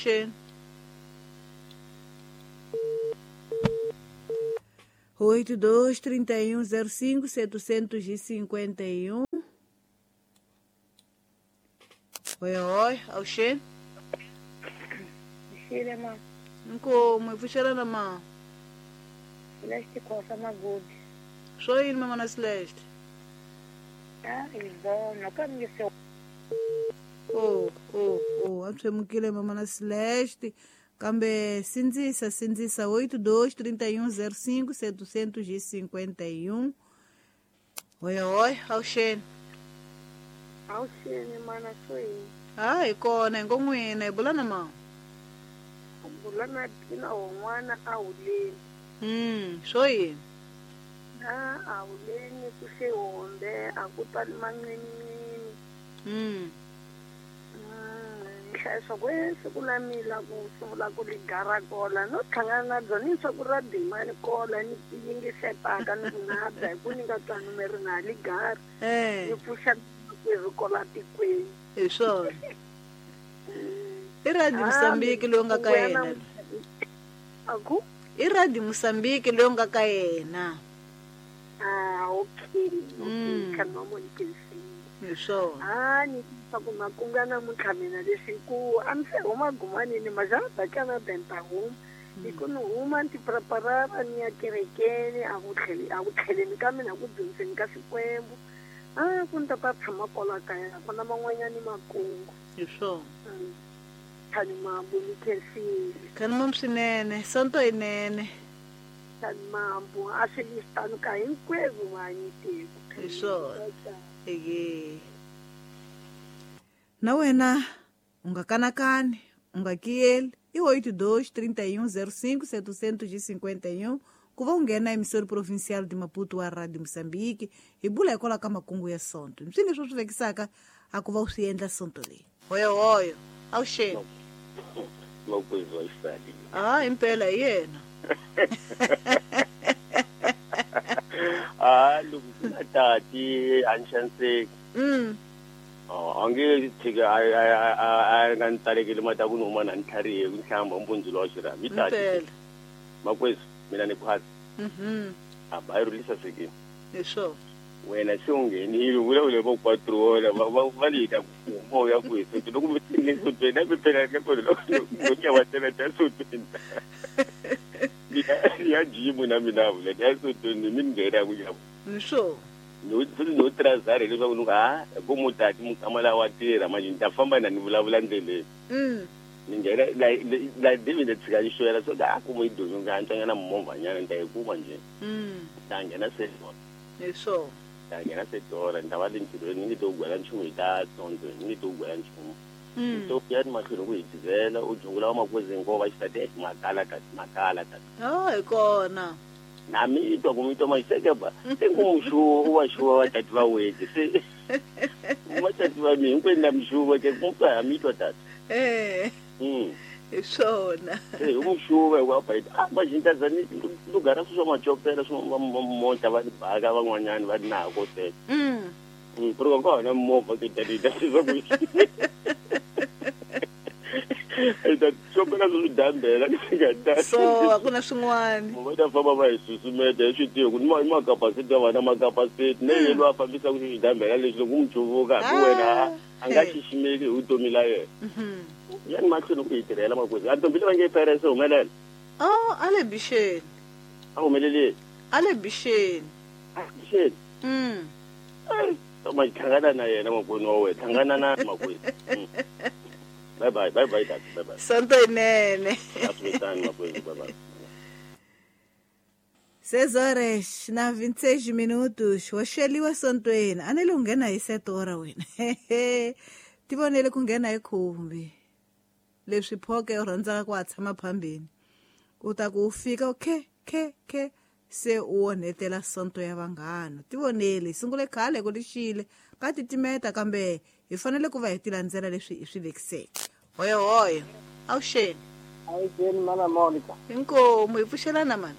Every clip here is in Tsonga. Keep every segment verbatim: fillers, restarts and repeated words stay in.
Xeni. Oito, dois, trinta e um, zero cinco, setecentos e cinquenta e um. Oi, oi, avuxeni. Xile ma. Inkomu, hi pfuxelana ma. Celeste Costa Magudi. Swo yini mama na Celeste? Ah, Ivona, ka mi se. Oh, oh, oh, a tshwemukile mama na Celeste. Kambe sindzisa, sindzisa oito dois trinta e um zero cinco setecentos e cinquenta e um. Oi, oi, avuxeni. Avuxeni mana swo yini? Ah, hi kona hi ngo n'wina hi bula na ma. Bula na tina wun'wana a wuleni. Mm, swo yini? Na a wuleni ku xihombe a ku tali manqinini. Mm. Mm, nhlayiso ku siku la mila ku sungula ku ligara kola no hlangana na byona ni swa ku ra dimani kola ni yingisetaka ni ku na bya hi ku ni nga twani mi ri na ligara. Eh. Ni pfuxa ku ri kola tikweni. Hi swona. I Radio Mozambique loyi nga ka yena. A ku? I Radio Mozambique loyi nga ka yena. Ah, okay. Okay, ka no mo nkisi. Hi swona. Ah, ni swa ku makunga namuntlha mina leswi ku a ni se huma gumanini majana kana benta huma. Hi ku ni huma ni ti preparara ni ya kerekeni a ku tlheli a ku tlheleni ka mina ku dyondzeni ka Xikwembu. Ah, ku ni ta ta tshama kwala kaya ku na man'wanyani makungu. Hi swona. Khani mambu ni khensile. Khani mambu swinene, sonto yinene. Khani mambu a swi listanu ka hinkwerhu vanyi tiko. Hi swona. Eke. Na wena u nga kanakani, u nga kiyeli. I oito dois trinta e um zero cinco setecentos e cinquenta e um ku va u nghena emissora provincial de Maputo wa Radio Mozambique hi bula hikwalaho ka makungu ya sonto. Swi leswi swi vekisaka a ku va u swi endla sonto leyi. Hoyo hoyo. Avuxeni. Makwezu wa xisati. Ah, impela hi yena. Ah, loko ku na tati a ni xaniseki. Mm. Oh, a nge tshiki a a a a nga ni talekeli mati ya ku ni huma na ni tlharihe ku ni hlamba mpundzu lowa xirhami. I tati. Impela. Makwezu, mina ni phasi. Mhm. A ba yi rhulisa sekeni. Hi swona. Wena se u nghenile u vulavule va ku patrola va va va le ta ku huma u ya kwihi sontweni loko mi tshine sontweni na mi phela ka kona loko loko ya wa tela ta sontweni ni ya jimu na mina vula ya sontweni mi ni nghena ku ya Hi swona. no futhi no trazare leswaku ni ku ha ku mutati mukama wa tirha manje ni ta famba na ni vulavula ndleleni. Mm. Ni nghena la la David a tshika ni xwela so a ku mo yi domi nga antswanyana movhanyana ni ta yi kuma njhe. Mm. Ta nghena se Hi swona. ta nghena se dora ni ta va le ntirhweni ni nge to gwela nchumu hi ta sonto ni nge to gwela nchumu. Mm. To ya ni mahlweni ku hi dizela u jungula wa makwezi hinkwavo va xisati makala tati makala tati. Oh, hi kona. Na mi twa ku mi twa maxeke ba se ku muxuwa u va xuwa va tati va wete se va tati va mi hinkwenu na mixuwa ke ku ha mi twa tati. Eh. Mm. Hi swona. Se hi muxuwa hi wa ba a ma jinta za ni lugara swi swa macopela swi va mota va baka van'wanyana va nako se. Mm. Mm, pero ka hona movha ke tati tati swa ku. Ita chopela swi dambela ni nga ta. So a ku na swin'wana. Va ta famba va hi susumeta hi swi tivi ku ni ma ma capacity ya vana ma capacity ne yena a fambisa ku xi dambela lexi loko n'wi cuvuka hambi wena a nga xiximeki hi vutomi la yena. Mhm. Ya ni mahlweni ku hi tirhela makwezi. A ntombi leyi va nge Paris humelela. Oh, a le bixeni. A humeleleni. A le bixeni. A bixeni. Mm. Ai, ma hlangana na yena makwenu wa wena, hlangana na makwezi. Bye bye, bye bye tati, bye bye. Sonto yinene. Aswitani makwezi, bye bye. Seis horas na vinte e seis minutos. Wa xeliwa sontweni. A ni le u nghena hi sete ora wena. Tivonele ku nghena hi khumbi. Leswi phoke u rhandzaka ku a tshama phambeni. U ta ku u fika u khe khe khe se u onhetela sonto ya vanghana. Tivonele, hi sungule khale ku lixile ka titimeta kambe hi fanele ku va hi ti landzela leswi hi swi vekiseke. Hoyo hoyo. Avuxeni. Avuxeni mana Monica. Inkomu hi pfuxelana mani.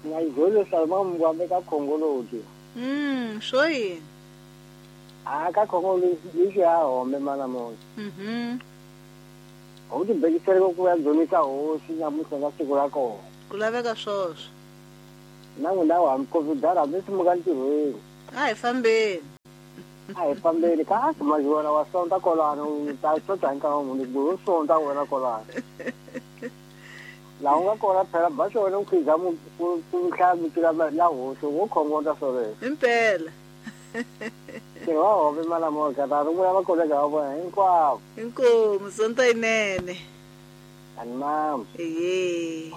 Ngayizolo salma mngwambe ka Khongoloti. Mm, swo yini? Ah, ka Khongoloti lexi ya home mana Monica. Mhm. U tibekisele ku ya dzunisa hosi nyamuntlha ka siku ra kona. Ku laveka swoswo. Na n'wina wa Covid hambi swi muka ntirhweni. A hi fambeni. A hi fambeni kasi majiwana wa sonta kolano u ta xota hi nkarhi muni ku sonta wena kolano. Laha u nga kona phela ba xona u khiza mu ku hlaya vito la hosi wo khongota swoleswo. Impela. Ntirho wa hove mana Monica ta rungula vakolega va vona hinkwavo. Inkomu sonto yinene. Ani mama. Eye.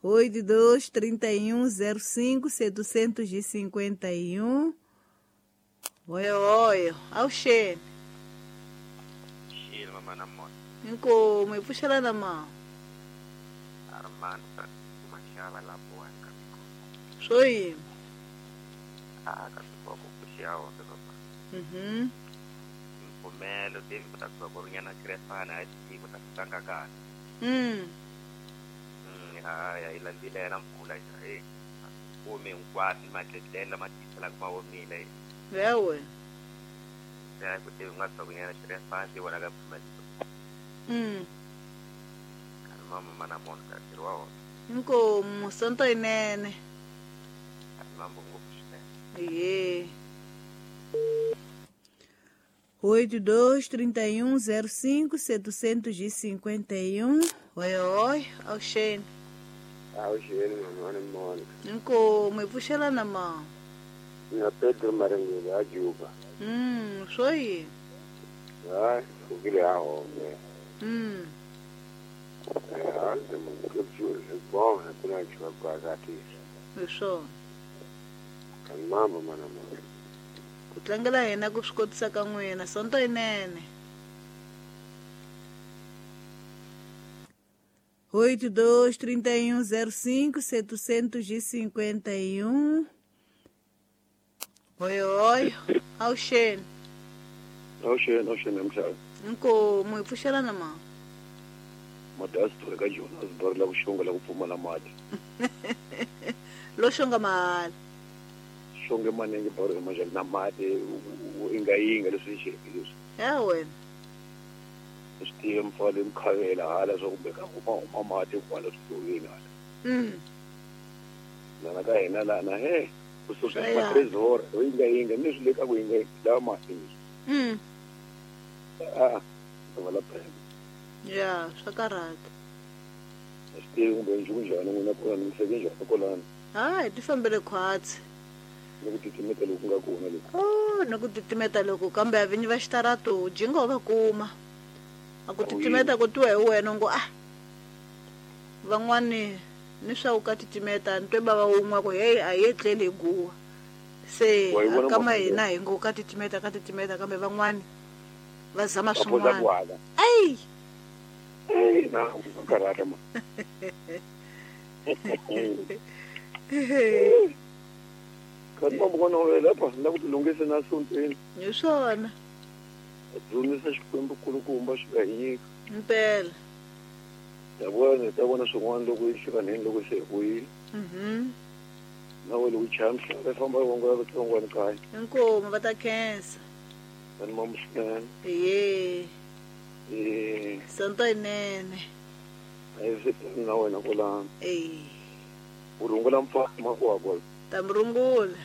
Oito dois trinta e um zero cinco setecentos e cinquenta e um. Oi, oi, avuxeni. Xile mama na mona. Inkomu hi pfuxela na mama. Armando Mashava la boa ka Swo yini? Ah, ka ku pfuxela wona papa. Mhm. Mpfumelo David ku ta ku ri nyana Krefana a xi ku ta tlanga kahle. Mm. Mm, ha ya yi landzile na mpfula eh. Kume hinkwaswo matletlela ma tisela ma omile. Wewe. Ya ku te nga ta ku nyana Krefana ti vona ka pfumelo. Mm. Mama mana mona ka ntirho wa wona. Inkomu sonto yinene. Mambo ngopfu swinene. Iye. Oito dois trinta e um zero cinco setecentos e cinquenta e um. Oi, oi, avuxeni. Avuxeni mama na Monica. Inkomu hi pfuxela na mama. Mina Pedro Marengele a Juba. Mm, swo yini? Hayi, pfukile ha home. Mm. Hi swona. Mambo mana mona. Ku tlangela hina ku swi kotisa ka n'wina sonto yinene. Oito dois trinta e um zero cinco setecentos e cinquenta e um. Oi, oi, avuxeni. Avuxeni, avuxeni mhlaba. Inkomu hi pfuxela na mama. Madasi ka Jonas bari la ku xonga la ku pfumala mati. Lo xonga mahala. Xonge maningi bari ka majali na mati inga yinga leswi xi leswi. Ya wena. Swi tiva mfalo mkhavela hala swa kumbe ka huma huma mati kwala switovini hala. Mm. Lana ka hina lana he kusuka ka trezor inga yinga ni swi le ka ku yinga la mati. Mm. Ah, wala phela. Ya, swa karhata. Swi tivi kumbe njhani n'wina kona mi fike njhani kolani? Hayi, ti fambele khwatsi. Ni ku titimeta loku nga kona loku. Oh, ni ku titimeta loku kambe a vinyi va xitarato jingo va kuma. A ku titimeta ku twiwa hi wena ngo ah. Van'wani ni swa ku ka titimeta ni twe bava wun'we ku hey a hi etleli hi guwa. Se kama hina hi ngo ka titimeta ka titimeta kambe van'wani va zama swin'wana. Ai! Ei, na karata ma. Kanti mama kona lapha la ku tilunghisa na sontweni. Hi swona. Dzunisa Xikwembu kulukumba xi nga hi nyika. Impela. Ya vona ta vona swin'wana loko yi hlukaneni loko se hi vuyile. Mhm. Na wena loko chaya mhlava famba vongola vatsongwana kaya. Inkomu va ta khensa. Ani mama swinene. Iye. Eh. Sonto yinene. A yi swi na wena kolana. Eh. U rungula mfana makwakwa. Ta mi rungula.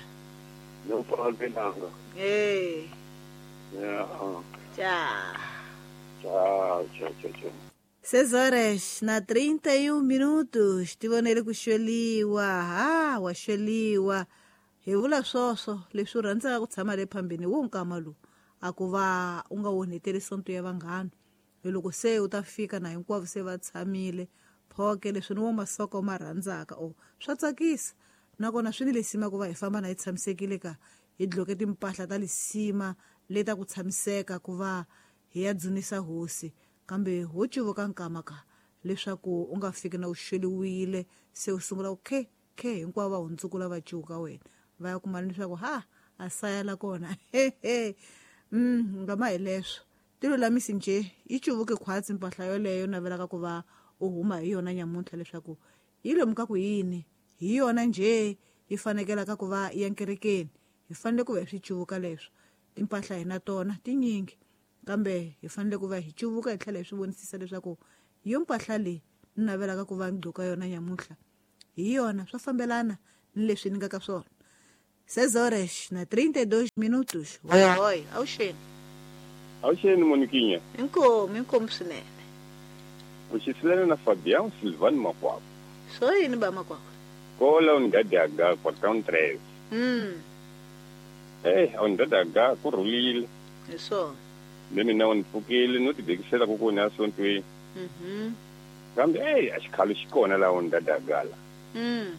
Na mfana belanga. Eh. Ya. Tchau. Tchau, tchau, tchau, tchau. Seis horas na trinta e um minutos. Tivonele ku xweliwa. Ha, wa xweliwa. Hi vula swoswo leswi u rhandzaka ku tshama le phambeni wo nkama lowu. A ku va u nga onheteli sonto ya vanghana. Hi loko se u ta fika na hinkwavo se va tshamile. Phoke leswi ni wo masoko ma rhandzaka o swa tsakisa. Nakona swi ni lisima ku va hi famba na hi tshamisekile ka hi dloke timpahla ta lisima leta ku tshamiseka ku va hi ya dzunisa hosi. Kambe ho cuvuka nkama ka leswaku u nga fiki na u xweliwile se u sungula ku khe khe hinkwavo va hundzukula va cuka wena va ya kuma leswaku ha a sayala kona. Mm, ngama hi leswo tilulamisi nje yi cuvuke khwatsi mpahla yoleyo navelaka ku va u huma hi yona nyamuntlha leswaku yi lomuka ku yini hi yona nje yi fanekelaka ku va ya nkerekeni. Hi fanele ku va hi swi cuvuka leswo timpahla hina tona tinyingi Kambe hi fanele ku va hi cuvuka hi tlhela hi swi vonisisa leswaku yo mpahla leyi ni navelaka ku va ni gqoka yona nyamuhla hi yona swa fambelana ni leswi ni nga ka swona. Seis horas na trinta e dois minutos. Oi, oi, avuxeni. Avuxeni Moniquinha. Inkomu, inkomu swinene. Vuxisilana na Fabião Silvano Makwakwa. Swo yini ba Makwakwa? Kola unidade H, quartão treze. Mm. Eh, a unidade H ku rhulile. Hi swona. Le mina u ni pfukile no tibekisela ku kona esontweni. Mhm. Kambe ey a xikhalo xi kona laha unidade H la. Mm.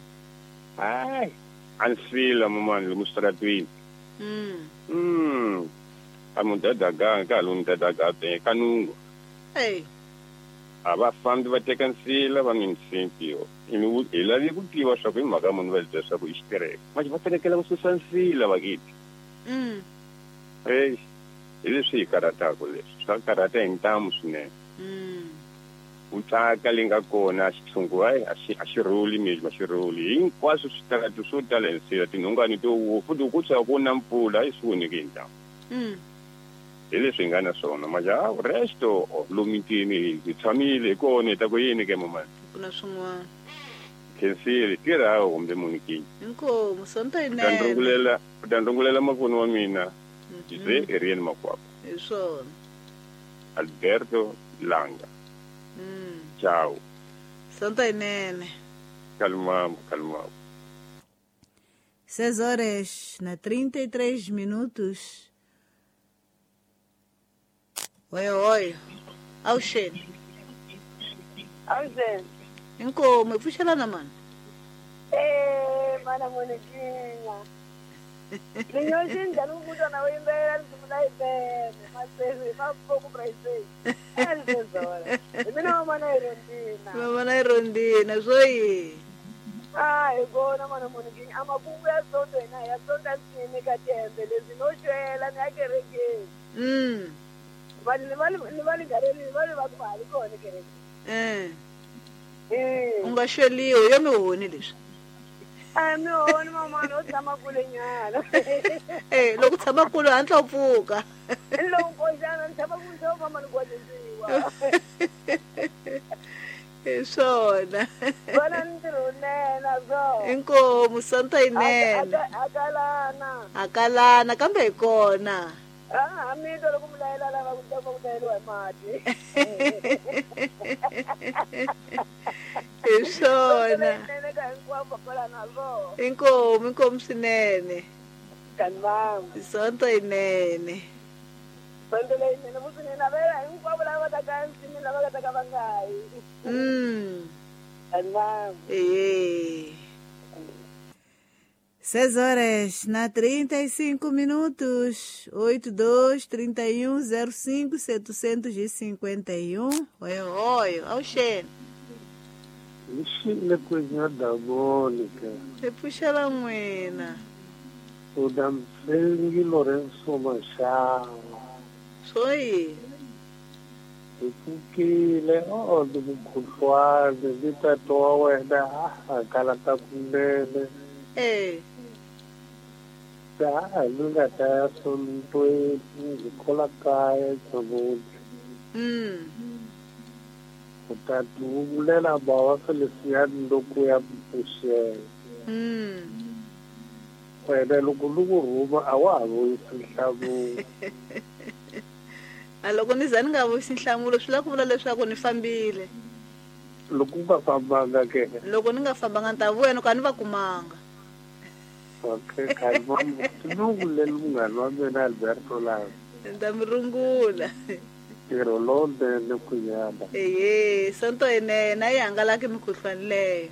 Hayi, a ni fila mamani lomu switaratweni. Mm. Mm. A unidade H ka hala unidade H be ka nungu. Hey. A va fambi va teka nsila va municipio. Hi lavi ku tiva swa ku hi mhaka munhu va bya swa ku i xitereko. Manje va fanekele ku susa nsila vakiti. Mm. Hey, hi leswi hi karhataka leswi. Swa karhata hi ntamu swinene. Mm. Ku tsaka leyi nga kona xitshungu hayi a xi a xi rhuli miri ma xi rhuli. Hinkwaswo switarati swo tala hi nsila tinhongani to wo futhi ku tsaka ku na mpfula a yi swi voneki hi ntamu. Mm. Hi leswi hi nga na swona manje a resto lomitini hi tshamile hi kona hi ta ku yini ke mamani. Ku na swin'wana. Khensile tirha kumbe Moniquinha. Inkomu sonto U ta yinene. ndrungulela u ta ndrungulela mapfuno wa mina. Jose Eriel Makwakwa. Hi swona. Alberto Langa. Mm. Ciao. Sonto yinene. Kalmamo, kalmamo. Seis horas na trinta e três minutos. Oi, oi. Avuxeni. Avuxeni. Inkomu, hi pfuxelana mani. Eh, mana Moniquinha. Linyoxi njhani ku kutwa na u yimbelela risimu la yinene masesi ma pouco pra vocês. É hi mina mamana Irondina. Mamana Irondina, swo yini? Ah, hi kona mana Moniquinha. A makungu ya sonto hina hi ya sonta nsini ka tihembe leswi no xwela ni ya kerekeni. Mm. Vanhu ni va ni va lingarelini va va ku va ha li kona kerekeni. Eh. Eh. U nga xweliwi yo mihoni leswi. A mihoni mamana u tshama kule nyana. Eh, loko u tshama kule hatla u pfuka. Loko nkoxana ni tshama kule swa mama ni kwalisiwa. Hi swona. Vana ntirho wunene swona. Inkomu sonto yinene. Hakalana. Hakalana kambe hi kona. Ah, mi twa loko mi layela lava ku ta ku tayeliwa hi mati. Hi swona. Nene ka hinkwavo kwalana swona. Inkomu, inkomu swinene. Kan'wana. Sonto yinene. Sonto leyinene futhi ni navela hinkwavo lava va taka ensin'wini lava nga ta ka va nga yi. Mm. Kan'wana. Eh. Seis horas na trinta e cinco minutos, oito, dois, trinta e um, zero cinco, setecentos e cinquenta e um. Oi, oi, avuxeni. Xile coisa da Mônica. Hi pfuxela n'wina. U da Mfengi Lourenço Machado. Swo yini? Hi pfukile o ni mukhuhlwani ni tata wa wena a hangalaka kunene. Eh. Ta ni nga ta ya sontweni hi kola kaya namuntlha. Mm. U ta tivulela bawa Feliciano loko ya pfuxela. Mm. Wena loko ni ku rhuma a wa ha vuyisi nhlamulo. A loko ni za ni nga vuyisi nhlamulo swi lava ku vula leswaku ni fambile. Loko u nga fambanga ke? Loko ni nga fambanga ni ta vuya ni ka ni va kumanga. Okay, kalma. Tinungulela munghana wa mina Alberto Langa. Ni ta mi rungula. Ntirho lowunene ku nyama. Ehe, sonto yinene a yi hangalaki mikhuhlwani leyo.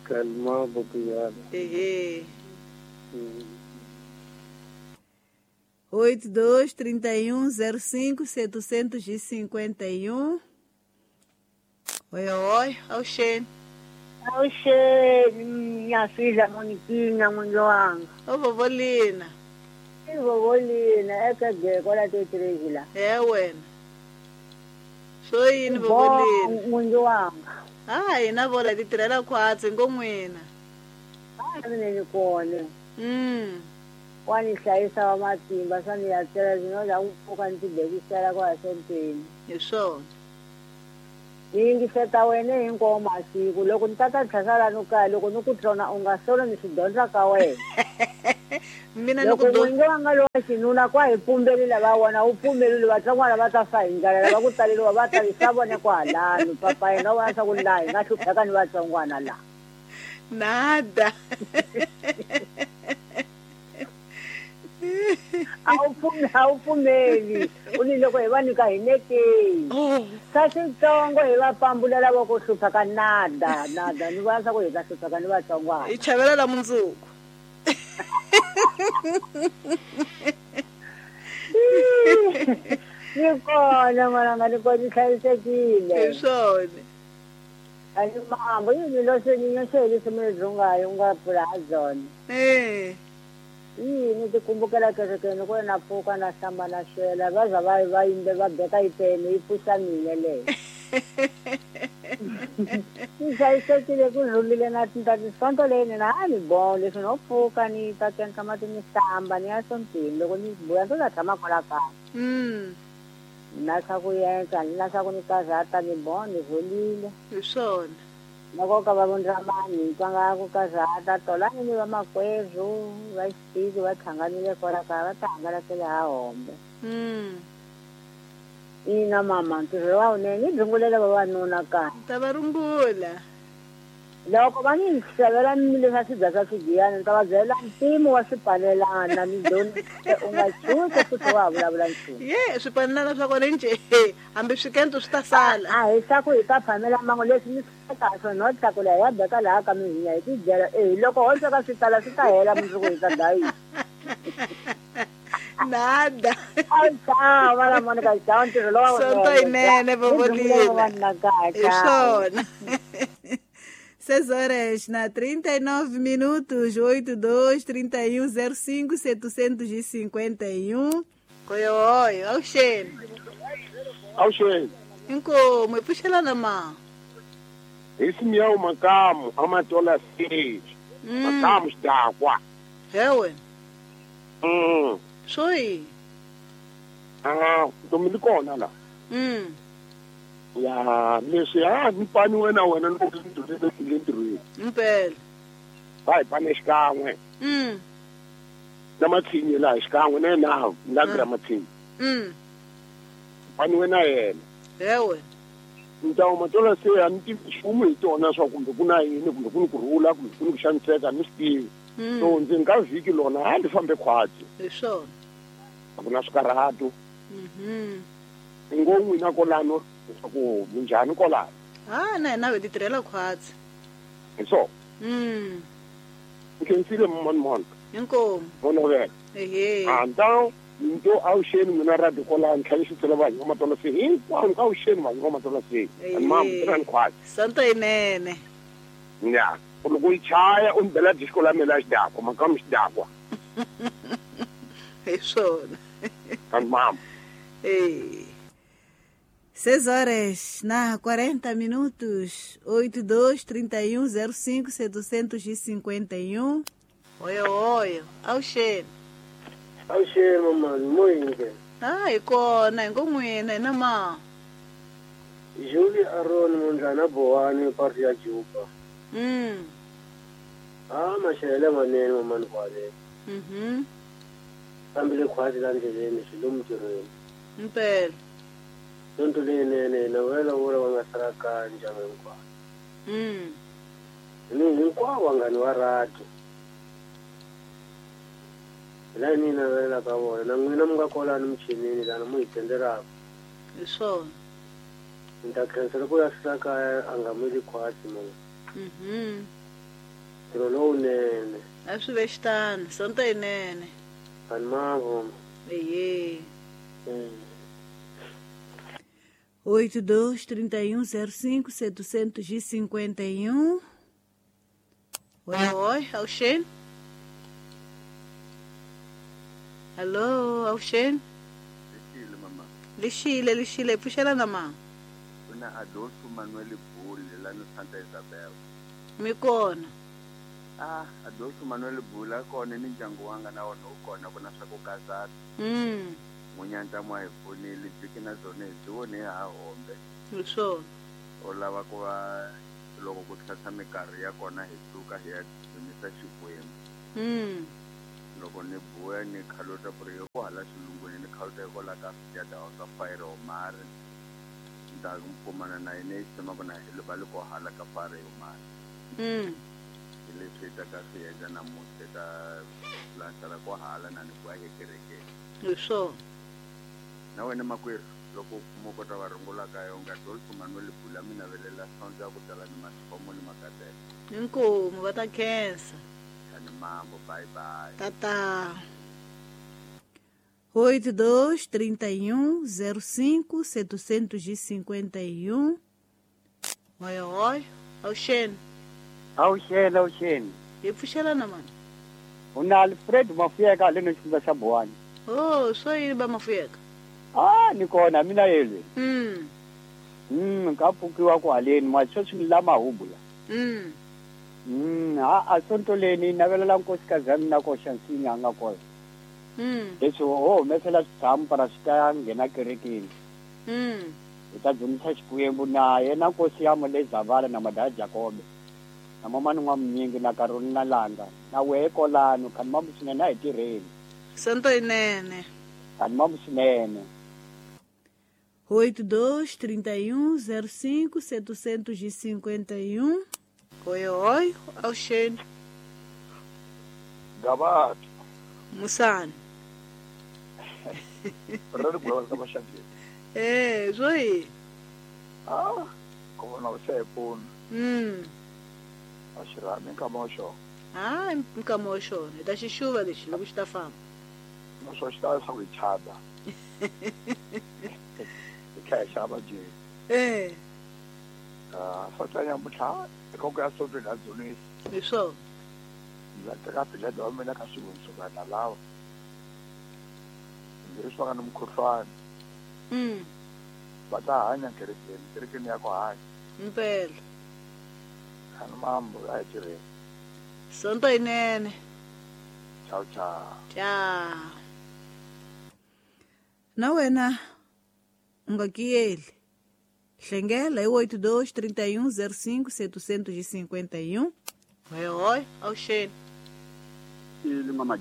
Kalma ku nyama. Ehe. Oito, dois, trinta e um, zero cinco, setecentos e cinquenta e um. Oi, oi, avuxeni. Avuxeni, minha filha Moniquinha, n'wingi wanga. Ô vovó Lina. I vovó Lina, eka geko la titireki la. É wena. Swo yini vovó Lina? N'wingi wanga. Ah, hina vo la ti tirhela khwatsi ngo n'wina. A mina ni kona. Mm. Wa ni hlayisa wa matimba swa ni ya tlela no la ku pfuka ni tibekisela kwa sontweni. Hi swona. Ni yingiseta wena hinkwawo masiku loko ni tata tlhasala no kaya loko ni ku tlona u nga solo ni swi dyondza ka wena. Mina ni loko ku do n'wingi wa nga lowa xinuna kwa hi pfumbelile va vona u pfumelile vatsongwana va ta fa hi ndlala lava ku taleriwa va ta swa vone kwahalano papa yena u vona swa ku laha hi nga hlupheka ni vatsongwana laha. Nada. A wu pfumeli a wu pfumeli u ni loko hi va nyika hi nekeni Oh. swa switsongo hi va pambulela va ku hlupheka nada nada ni vona swa ku hi ta hlupheka ni vatsongwana. Hi chavela la mundzuku. Ni kona n'wananga ni kona ni hlayisekile. Hi swona. A ni mambo yini lo se ni nyoxe leswi mi dzungayo u nga pfula ha byona. Eh. Yini ti kumbukela kerekeni ku na pfuka na hlamba na xela va za va va yimbe va beka yipene yi pfuxa mina leyo. Ni hlayisekile ku rhulile na tinta tisonto leyi na a ni bon leswi no pfuka ni ta kenka mati ni hlamba ni ya sontweni loko ni vuya ndzi ta tshama kwala kaya. Mm. Na swa ku endla ni na swa ku ni karhata ni bon ni rhulile. Hi swona. Loko ka va vundramani ni twa nga ku karhata tolani ni vamakwerhu va xitiki va hlanganile kwala kaya va ta hangalakele ha hombe. Mm. Ina mama ntirho wa wunene ni rhungulela vavanuna kaya. Ta va rungula. Loko va ni xavela leswa swibya swa swigiyani ni ta va byela mpimo wa swipalelana ni doni u nga tshuki futhi wa ha vulavula nchumu. Ye swipalelana swa kona njhe hambi swikento swi ta sala. A hi swa ku hi ta phamela mango leswi ni swekaka swona no tlakula hi ya beka laha ka mihinya hi tidyela e loko ho sweka swi tala swi ta hela mundzuku hi ta dlayisa. Nada. A chava la Monica chava ntirho lowa Sonto yinene Vovolina. Hi swona. Seis horas na trinta e nove minutos, oito, dois, trinta e um, zero cinco, setecentos e cinquenta e um. Oi, oi, avuxeni. Avuxeni. Inkomu, hi pfuxelana ma. Hi Simeon Makamu, Amatola Stage. Makamu xidakwa. He wena. Mm. Swo yini? Ah, ntomi li kona la. Mm. Ya, leswi a ni pani wena wena ni ku ni ntirhweni. Impela. Va hi pane xikan'we. Mm. Na mathinyi laha xikan'we na yena na gra mathinyi. Mm. Pani wena yena. He wena. Ntawu Matola se a ni tivi nchumu hi tona swa kumbe ku na yini kumbe ku ni ku rhula kumbe ku ni ku xaniseka ni swi tivi. So ndzi nga vhiki lona a ndzi fambe khwatsi. Hi swona. A ku na swikarhato. Mhm. Ngo n'wina kolano ku minjhani kolano? Ah, na hina hi ti tirhela khwatsi. Hi swona. Mm. Nkhensile mani Monica. Inkomu. Vonovela. Ehe. A ntawu nto avuxeni n'wina radio kolano tlhela xi tsela vanhu va Matola se hinkwavo ka avuxeni vanhu va Matola se. Ani mamu tirhani khwatsi. Sonto yinene. Ya. Loko yi chaya u ni bela disco la mina xidakwa Makamu xidakwa. Hi swona. Ani mamu. Eh. Seis horas na quarenta minutos, oito, dois, trinta e um, zero cinco, setecentos e cinquenta e um. Oi, oi, avuxeni. Avuxeni mamani, moyini. Ah, hi kona, hi ngo n'wina, hina ma. Julie Aron Mundlana Bowani parti ya Juba. Mm. Ah, maxele manene mamani kwale. Mhm. Fambile khwatsi la ndleleni swi lomu ntirhweni. Impela. Sonto leyinene na wena vula va nga sala kaya ndyangu hinkwawo. Mm. Ni hinkwavo vanghani va radio. Hi laha ni navelaka vona na n'wina mi nga kwalano michinini lana mu hi tendelaka. Hi swona. Ni ta khensa loko ya sala kaya a nga mili khwatsi mama. Mhm. Ntirho lowunene. A swi ve xitano, sonto yinene. Ani mavuma. Ehe. Mm. Oito, dois, trinta e um, zero cinco, setecentos e cinquenta e um. Oi, oi, avuxeni. Alô, avuxeni. Lixile mama. Lixile, lixile, pfuxelana ma. Kuna Adolfo Manuel Bull la no Santa Isabel. Mi kona. Ah, Adolfo Manuel Bula kona ni ndyangu wanga na wona wu kona ku na swa ku kasana. Mm. Munyanta mwa hi pfunile byi na byona hi byi vone ha hombe. Hi swona. U lava ku va loko ku tlhatlha minkarhi ya kona hi suka hi ya dzunisa Xikwembu. Mm. Loko ni buya ni khaluta ku ri ku hala xilungwini ni khaluta hikwalaho ka ya ka fire omari. Nda kumana na yena yi tshama na hi va le ko hala ka fire omari. Mm. Hi leswi ta ka swi endla namuntlha ka lantsala ko hala na ni ku ya ekerekeni. Hi swona. Na wena makwerhu loko mo kota va rungula ka yo nga Adolfo Manuel Bula mi navelela sonto ya ku tala ni mathomo ni makateko. Inkomu va ta khensa. Ni mambo, bye bye. Tata. oito dois, trinta e um, zero cinco, setecentos e cinquenta e um. Oi, oi. Auxene. Auxene, Auxene. E pfuxelana mani? Una Alfred Mafuyeka le no xifundza xa Buwani. Oh, swo yini ba Mafuyeka? Ah, ni kona mina yelwe. Mm. Mm, ka pfukiwa ku haleni ma sweswi ni lama hubula. Mm. Mm, a a sonto leni navelela nkosikazi ya mina ko xansinya nga kona. Mm. Leswi ho humesela switshamu para swi ta nghena kerekeni. Mm. Hi ta dzunisa Xikwembu na yena nkosi ya le Zavala na Madaya Jakobe. Na mama n'wa mnyingi na Carolina Langa na wehe kolano khani mambu swinene a hi tirheni. Sonto yinene. Khani mambu swinene. oito dois, trinta e um, zero cinco, setecentos e cinquenta e um. Oi, oi, Auxene. Gabato. Musani. Eh, zoi. Ah, como não sei, pô. Hum. Ashira, nunca mocho. Ah, nunca mocho. Da chuva lexi, loko xi ta famba. Não só está essa wichada. Que chama de. Eh. Ah, só tem muita, qualquer assunto da zona. Isso. La terapia da homem ka xivunsuka na lawa. Leswi va nga ni mukhuhlwani. Mm. Va ta hanya kerekeni, kerekeni ya ku hanya. Impela. Khani mambo a hi tirheni. Sonto yinene. Ciao ciao. Ciao. Na wena u nga kiyeli. Hlengela hi oito dois, trinta e um, zero cinco, setecentos e cinquenta e um. Oi, oi, Auxene. Ili mama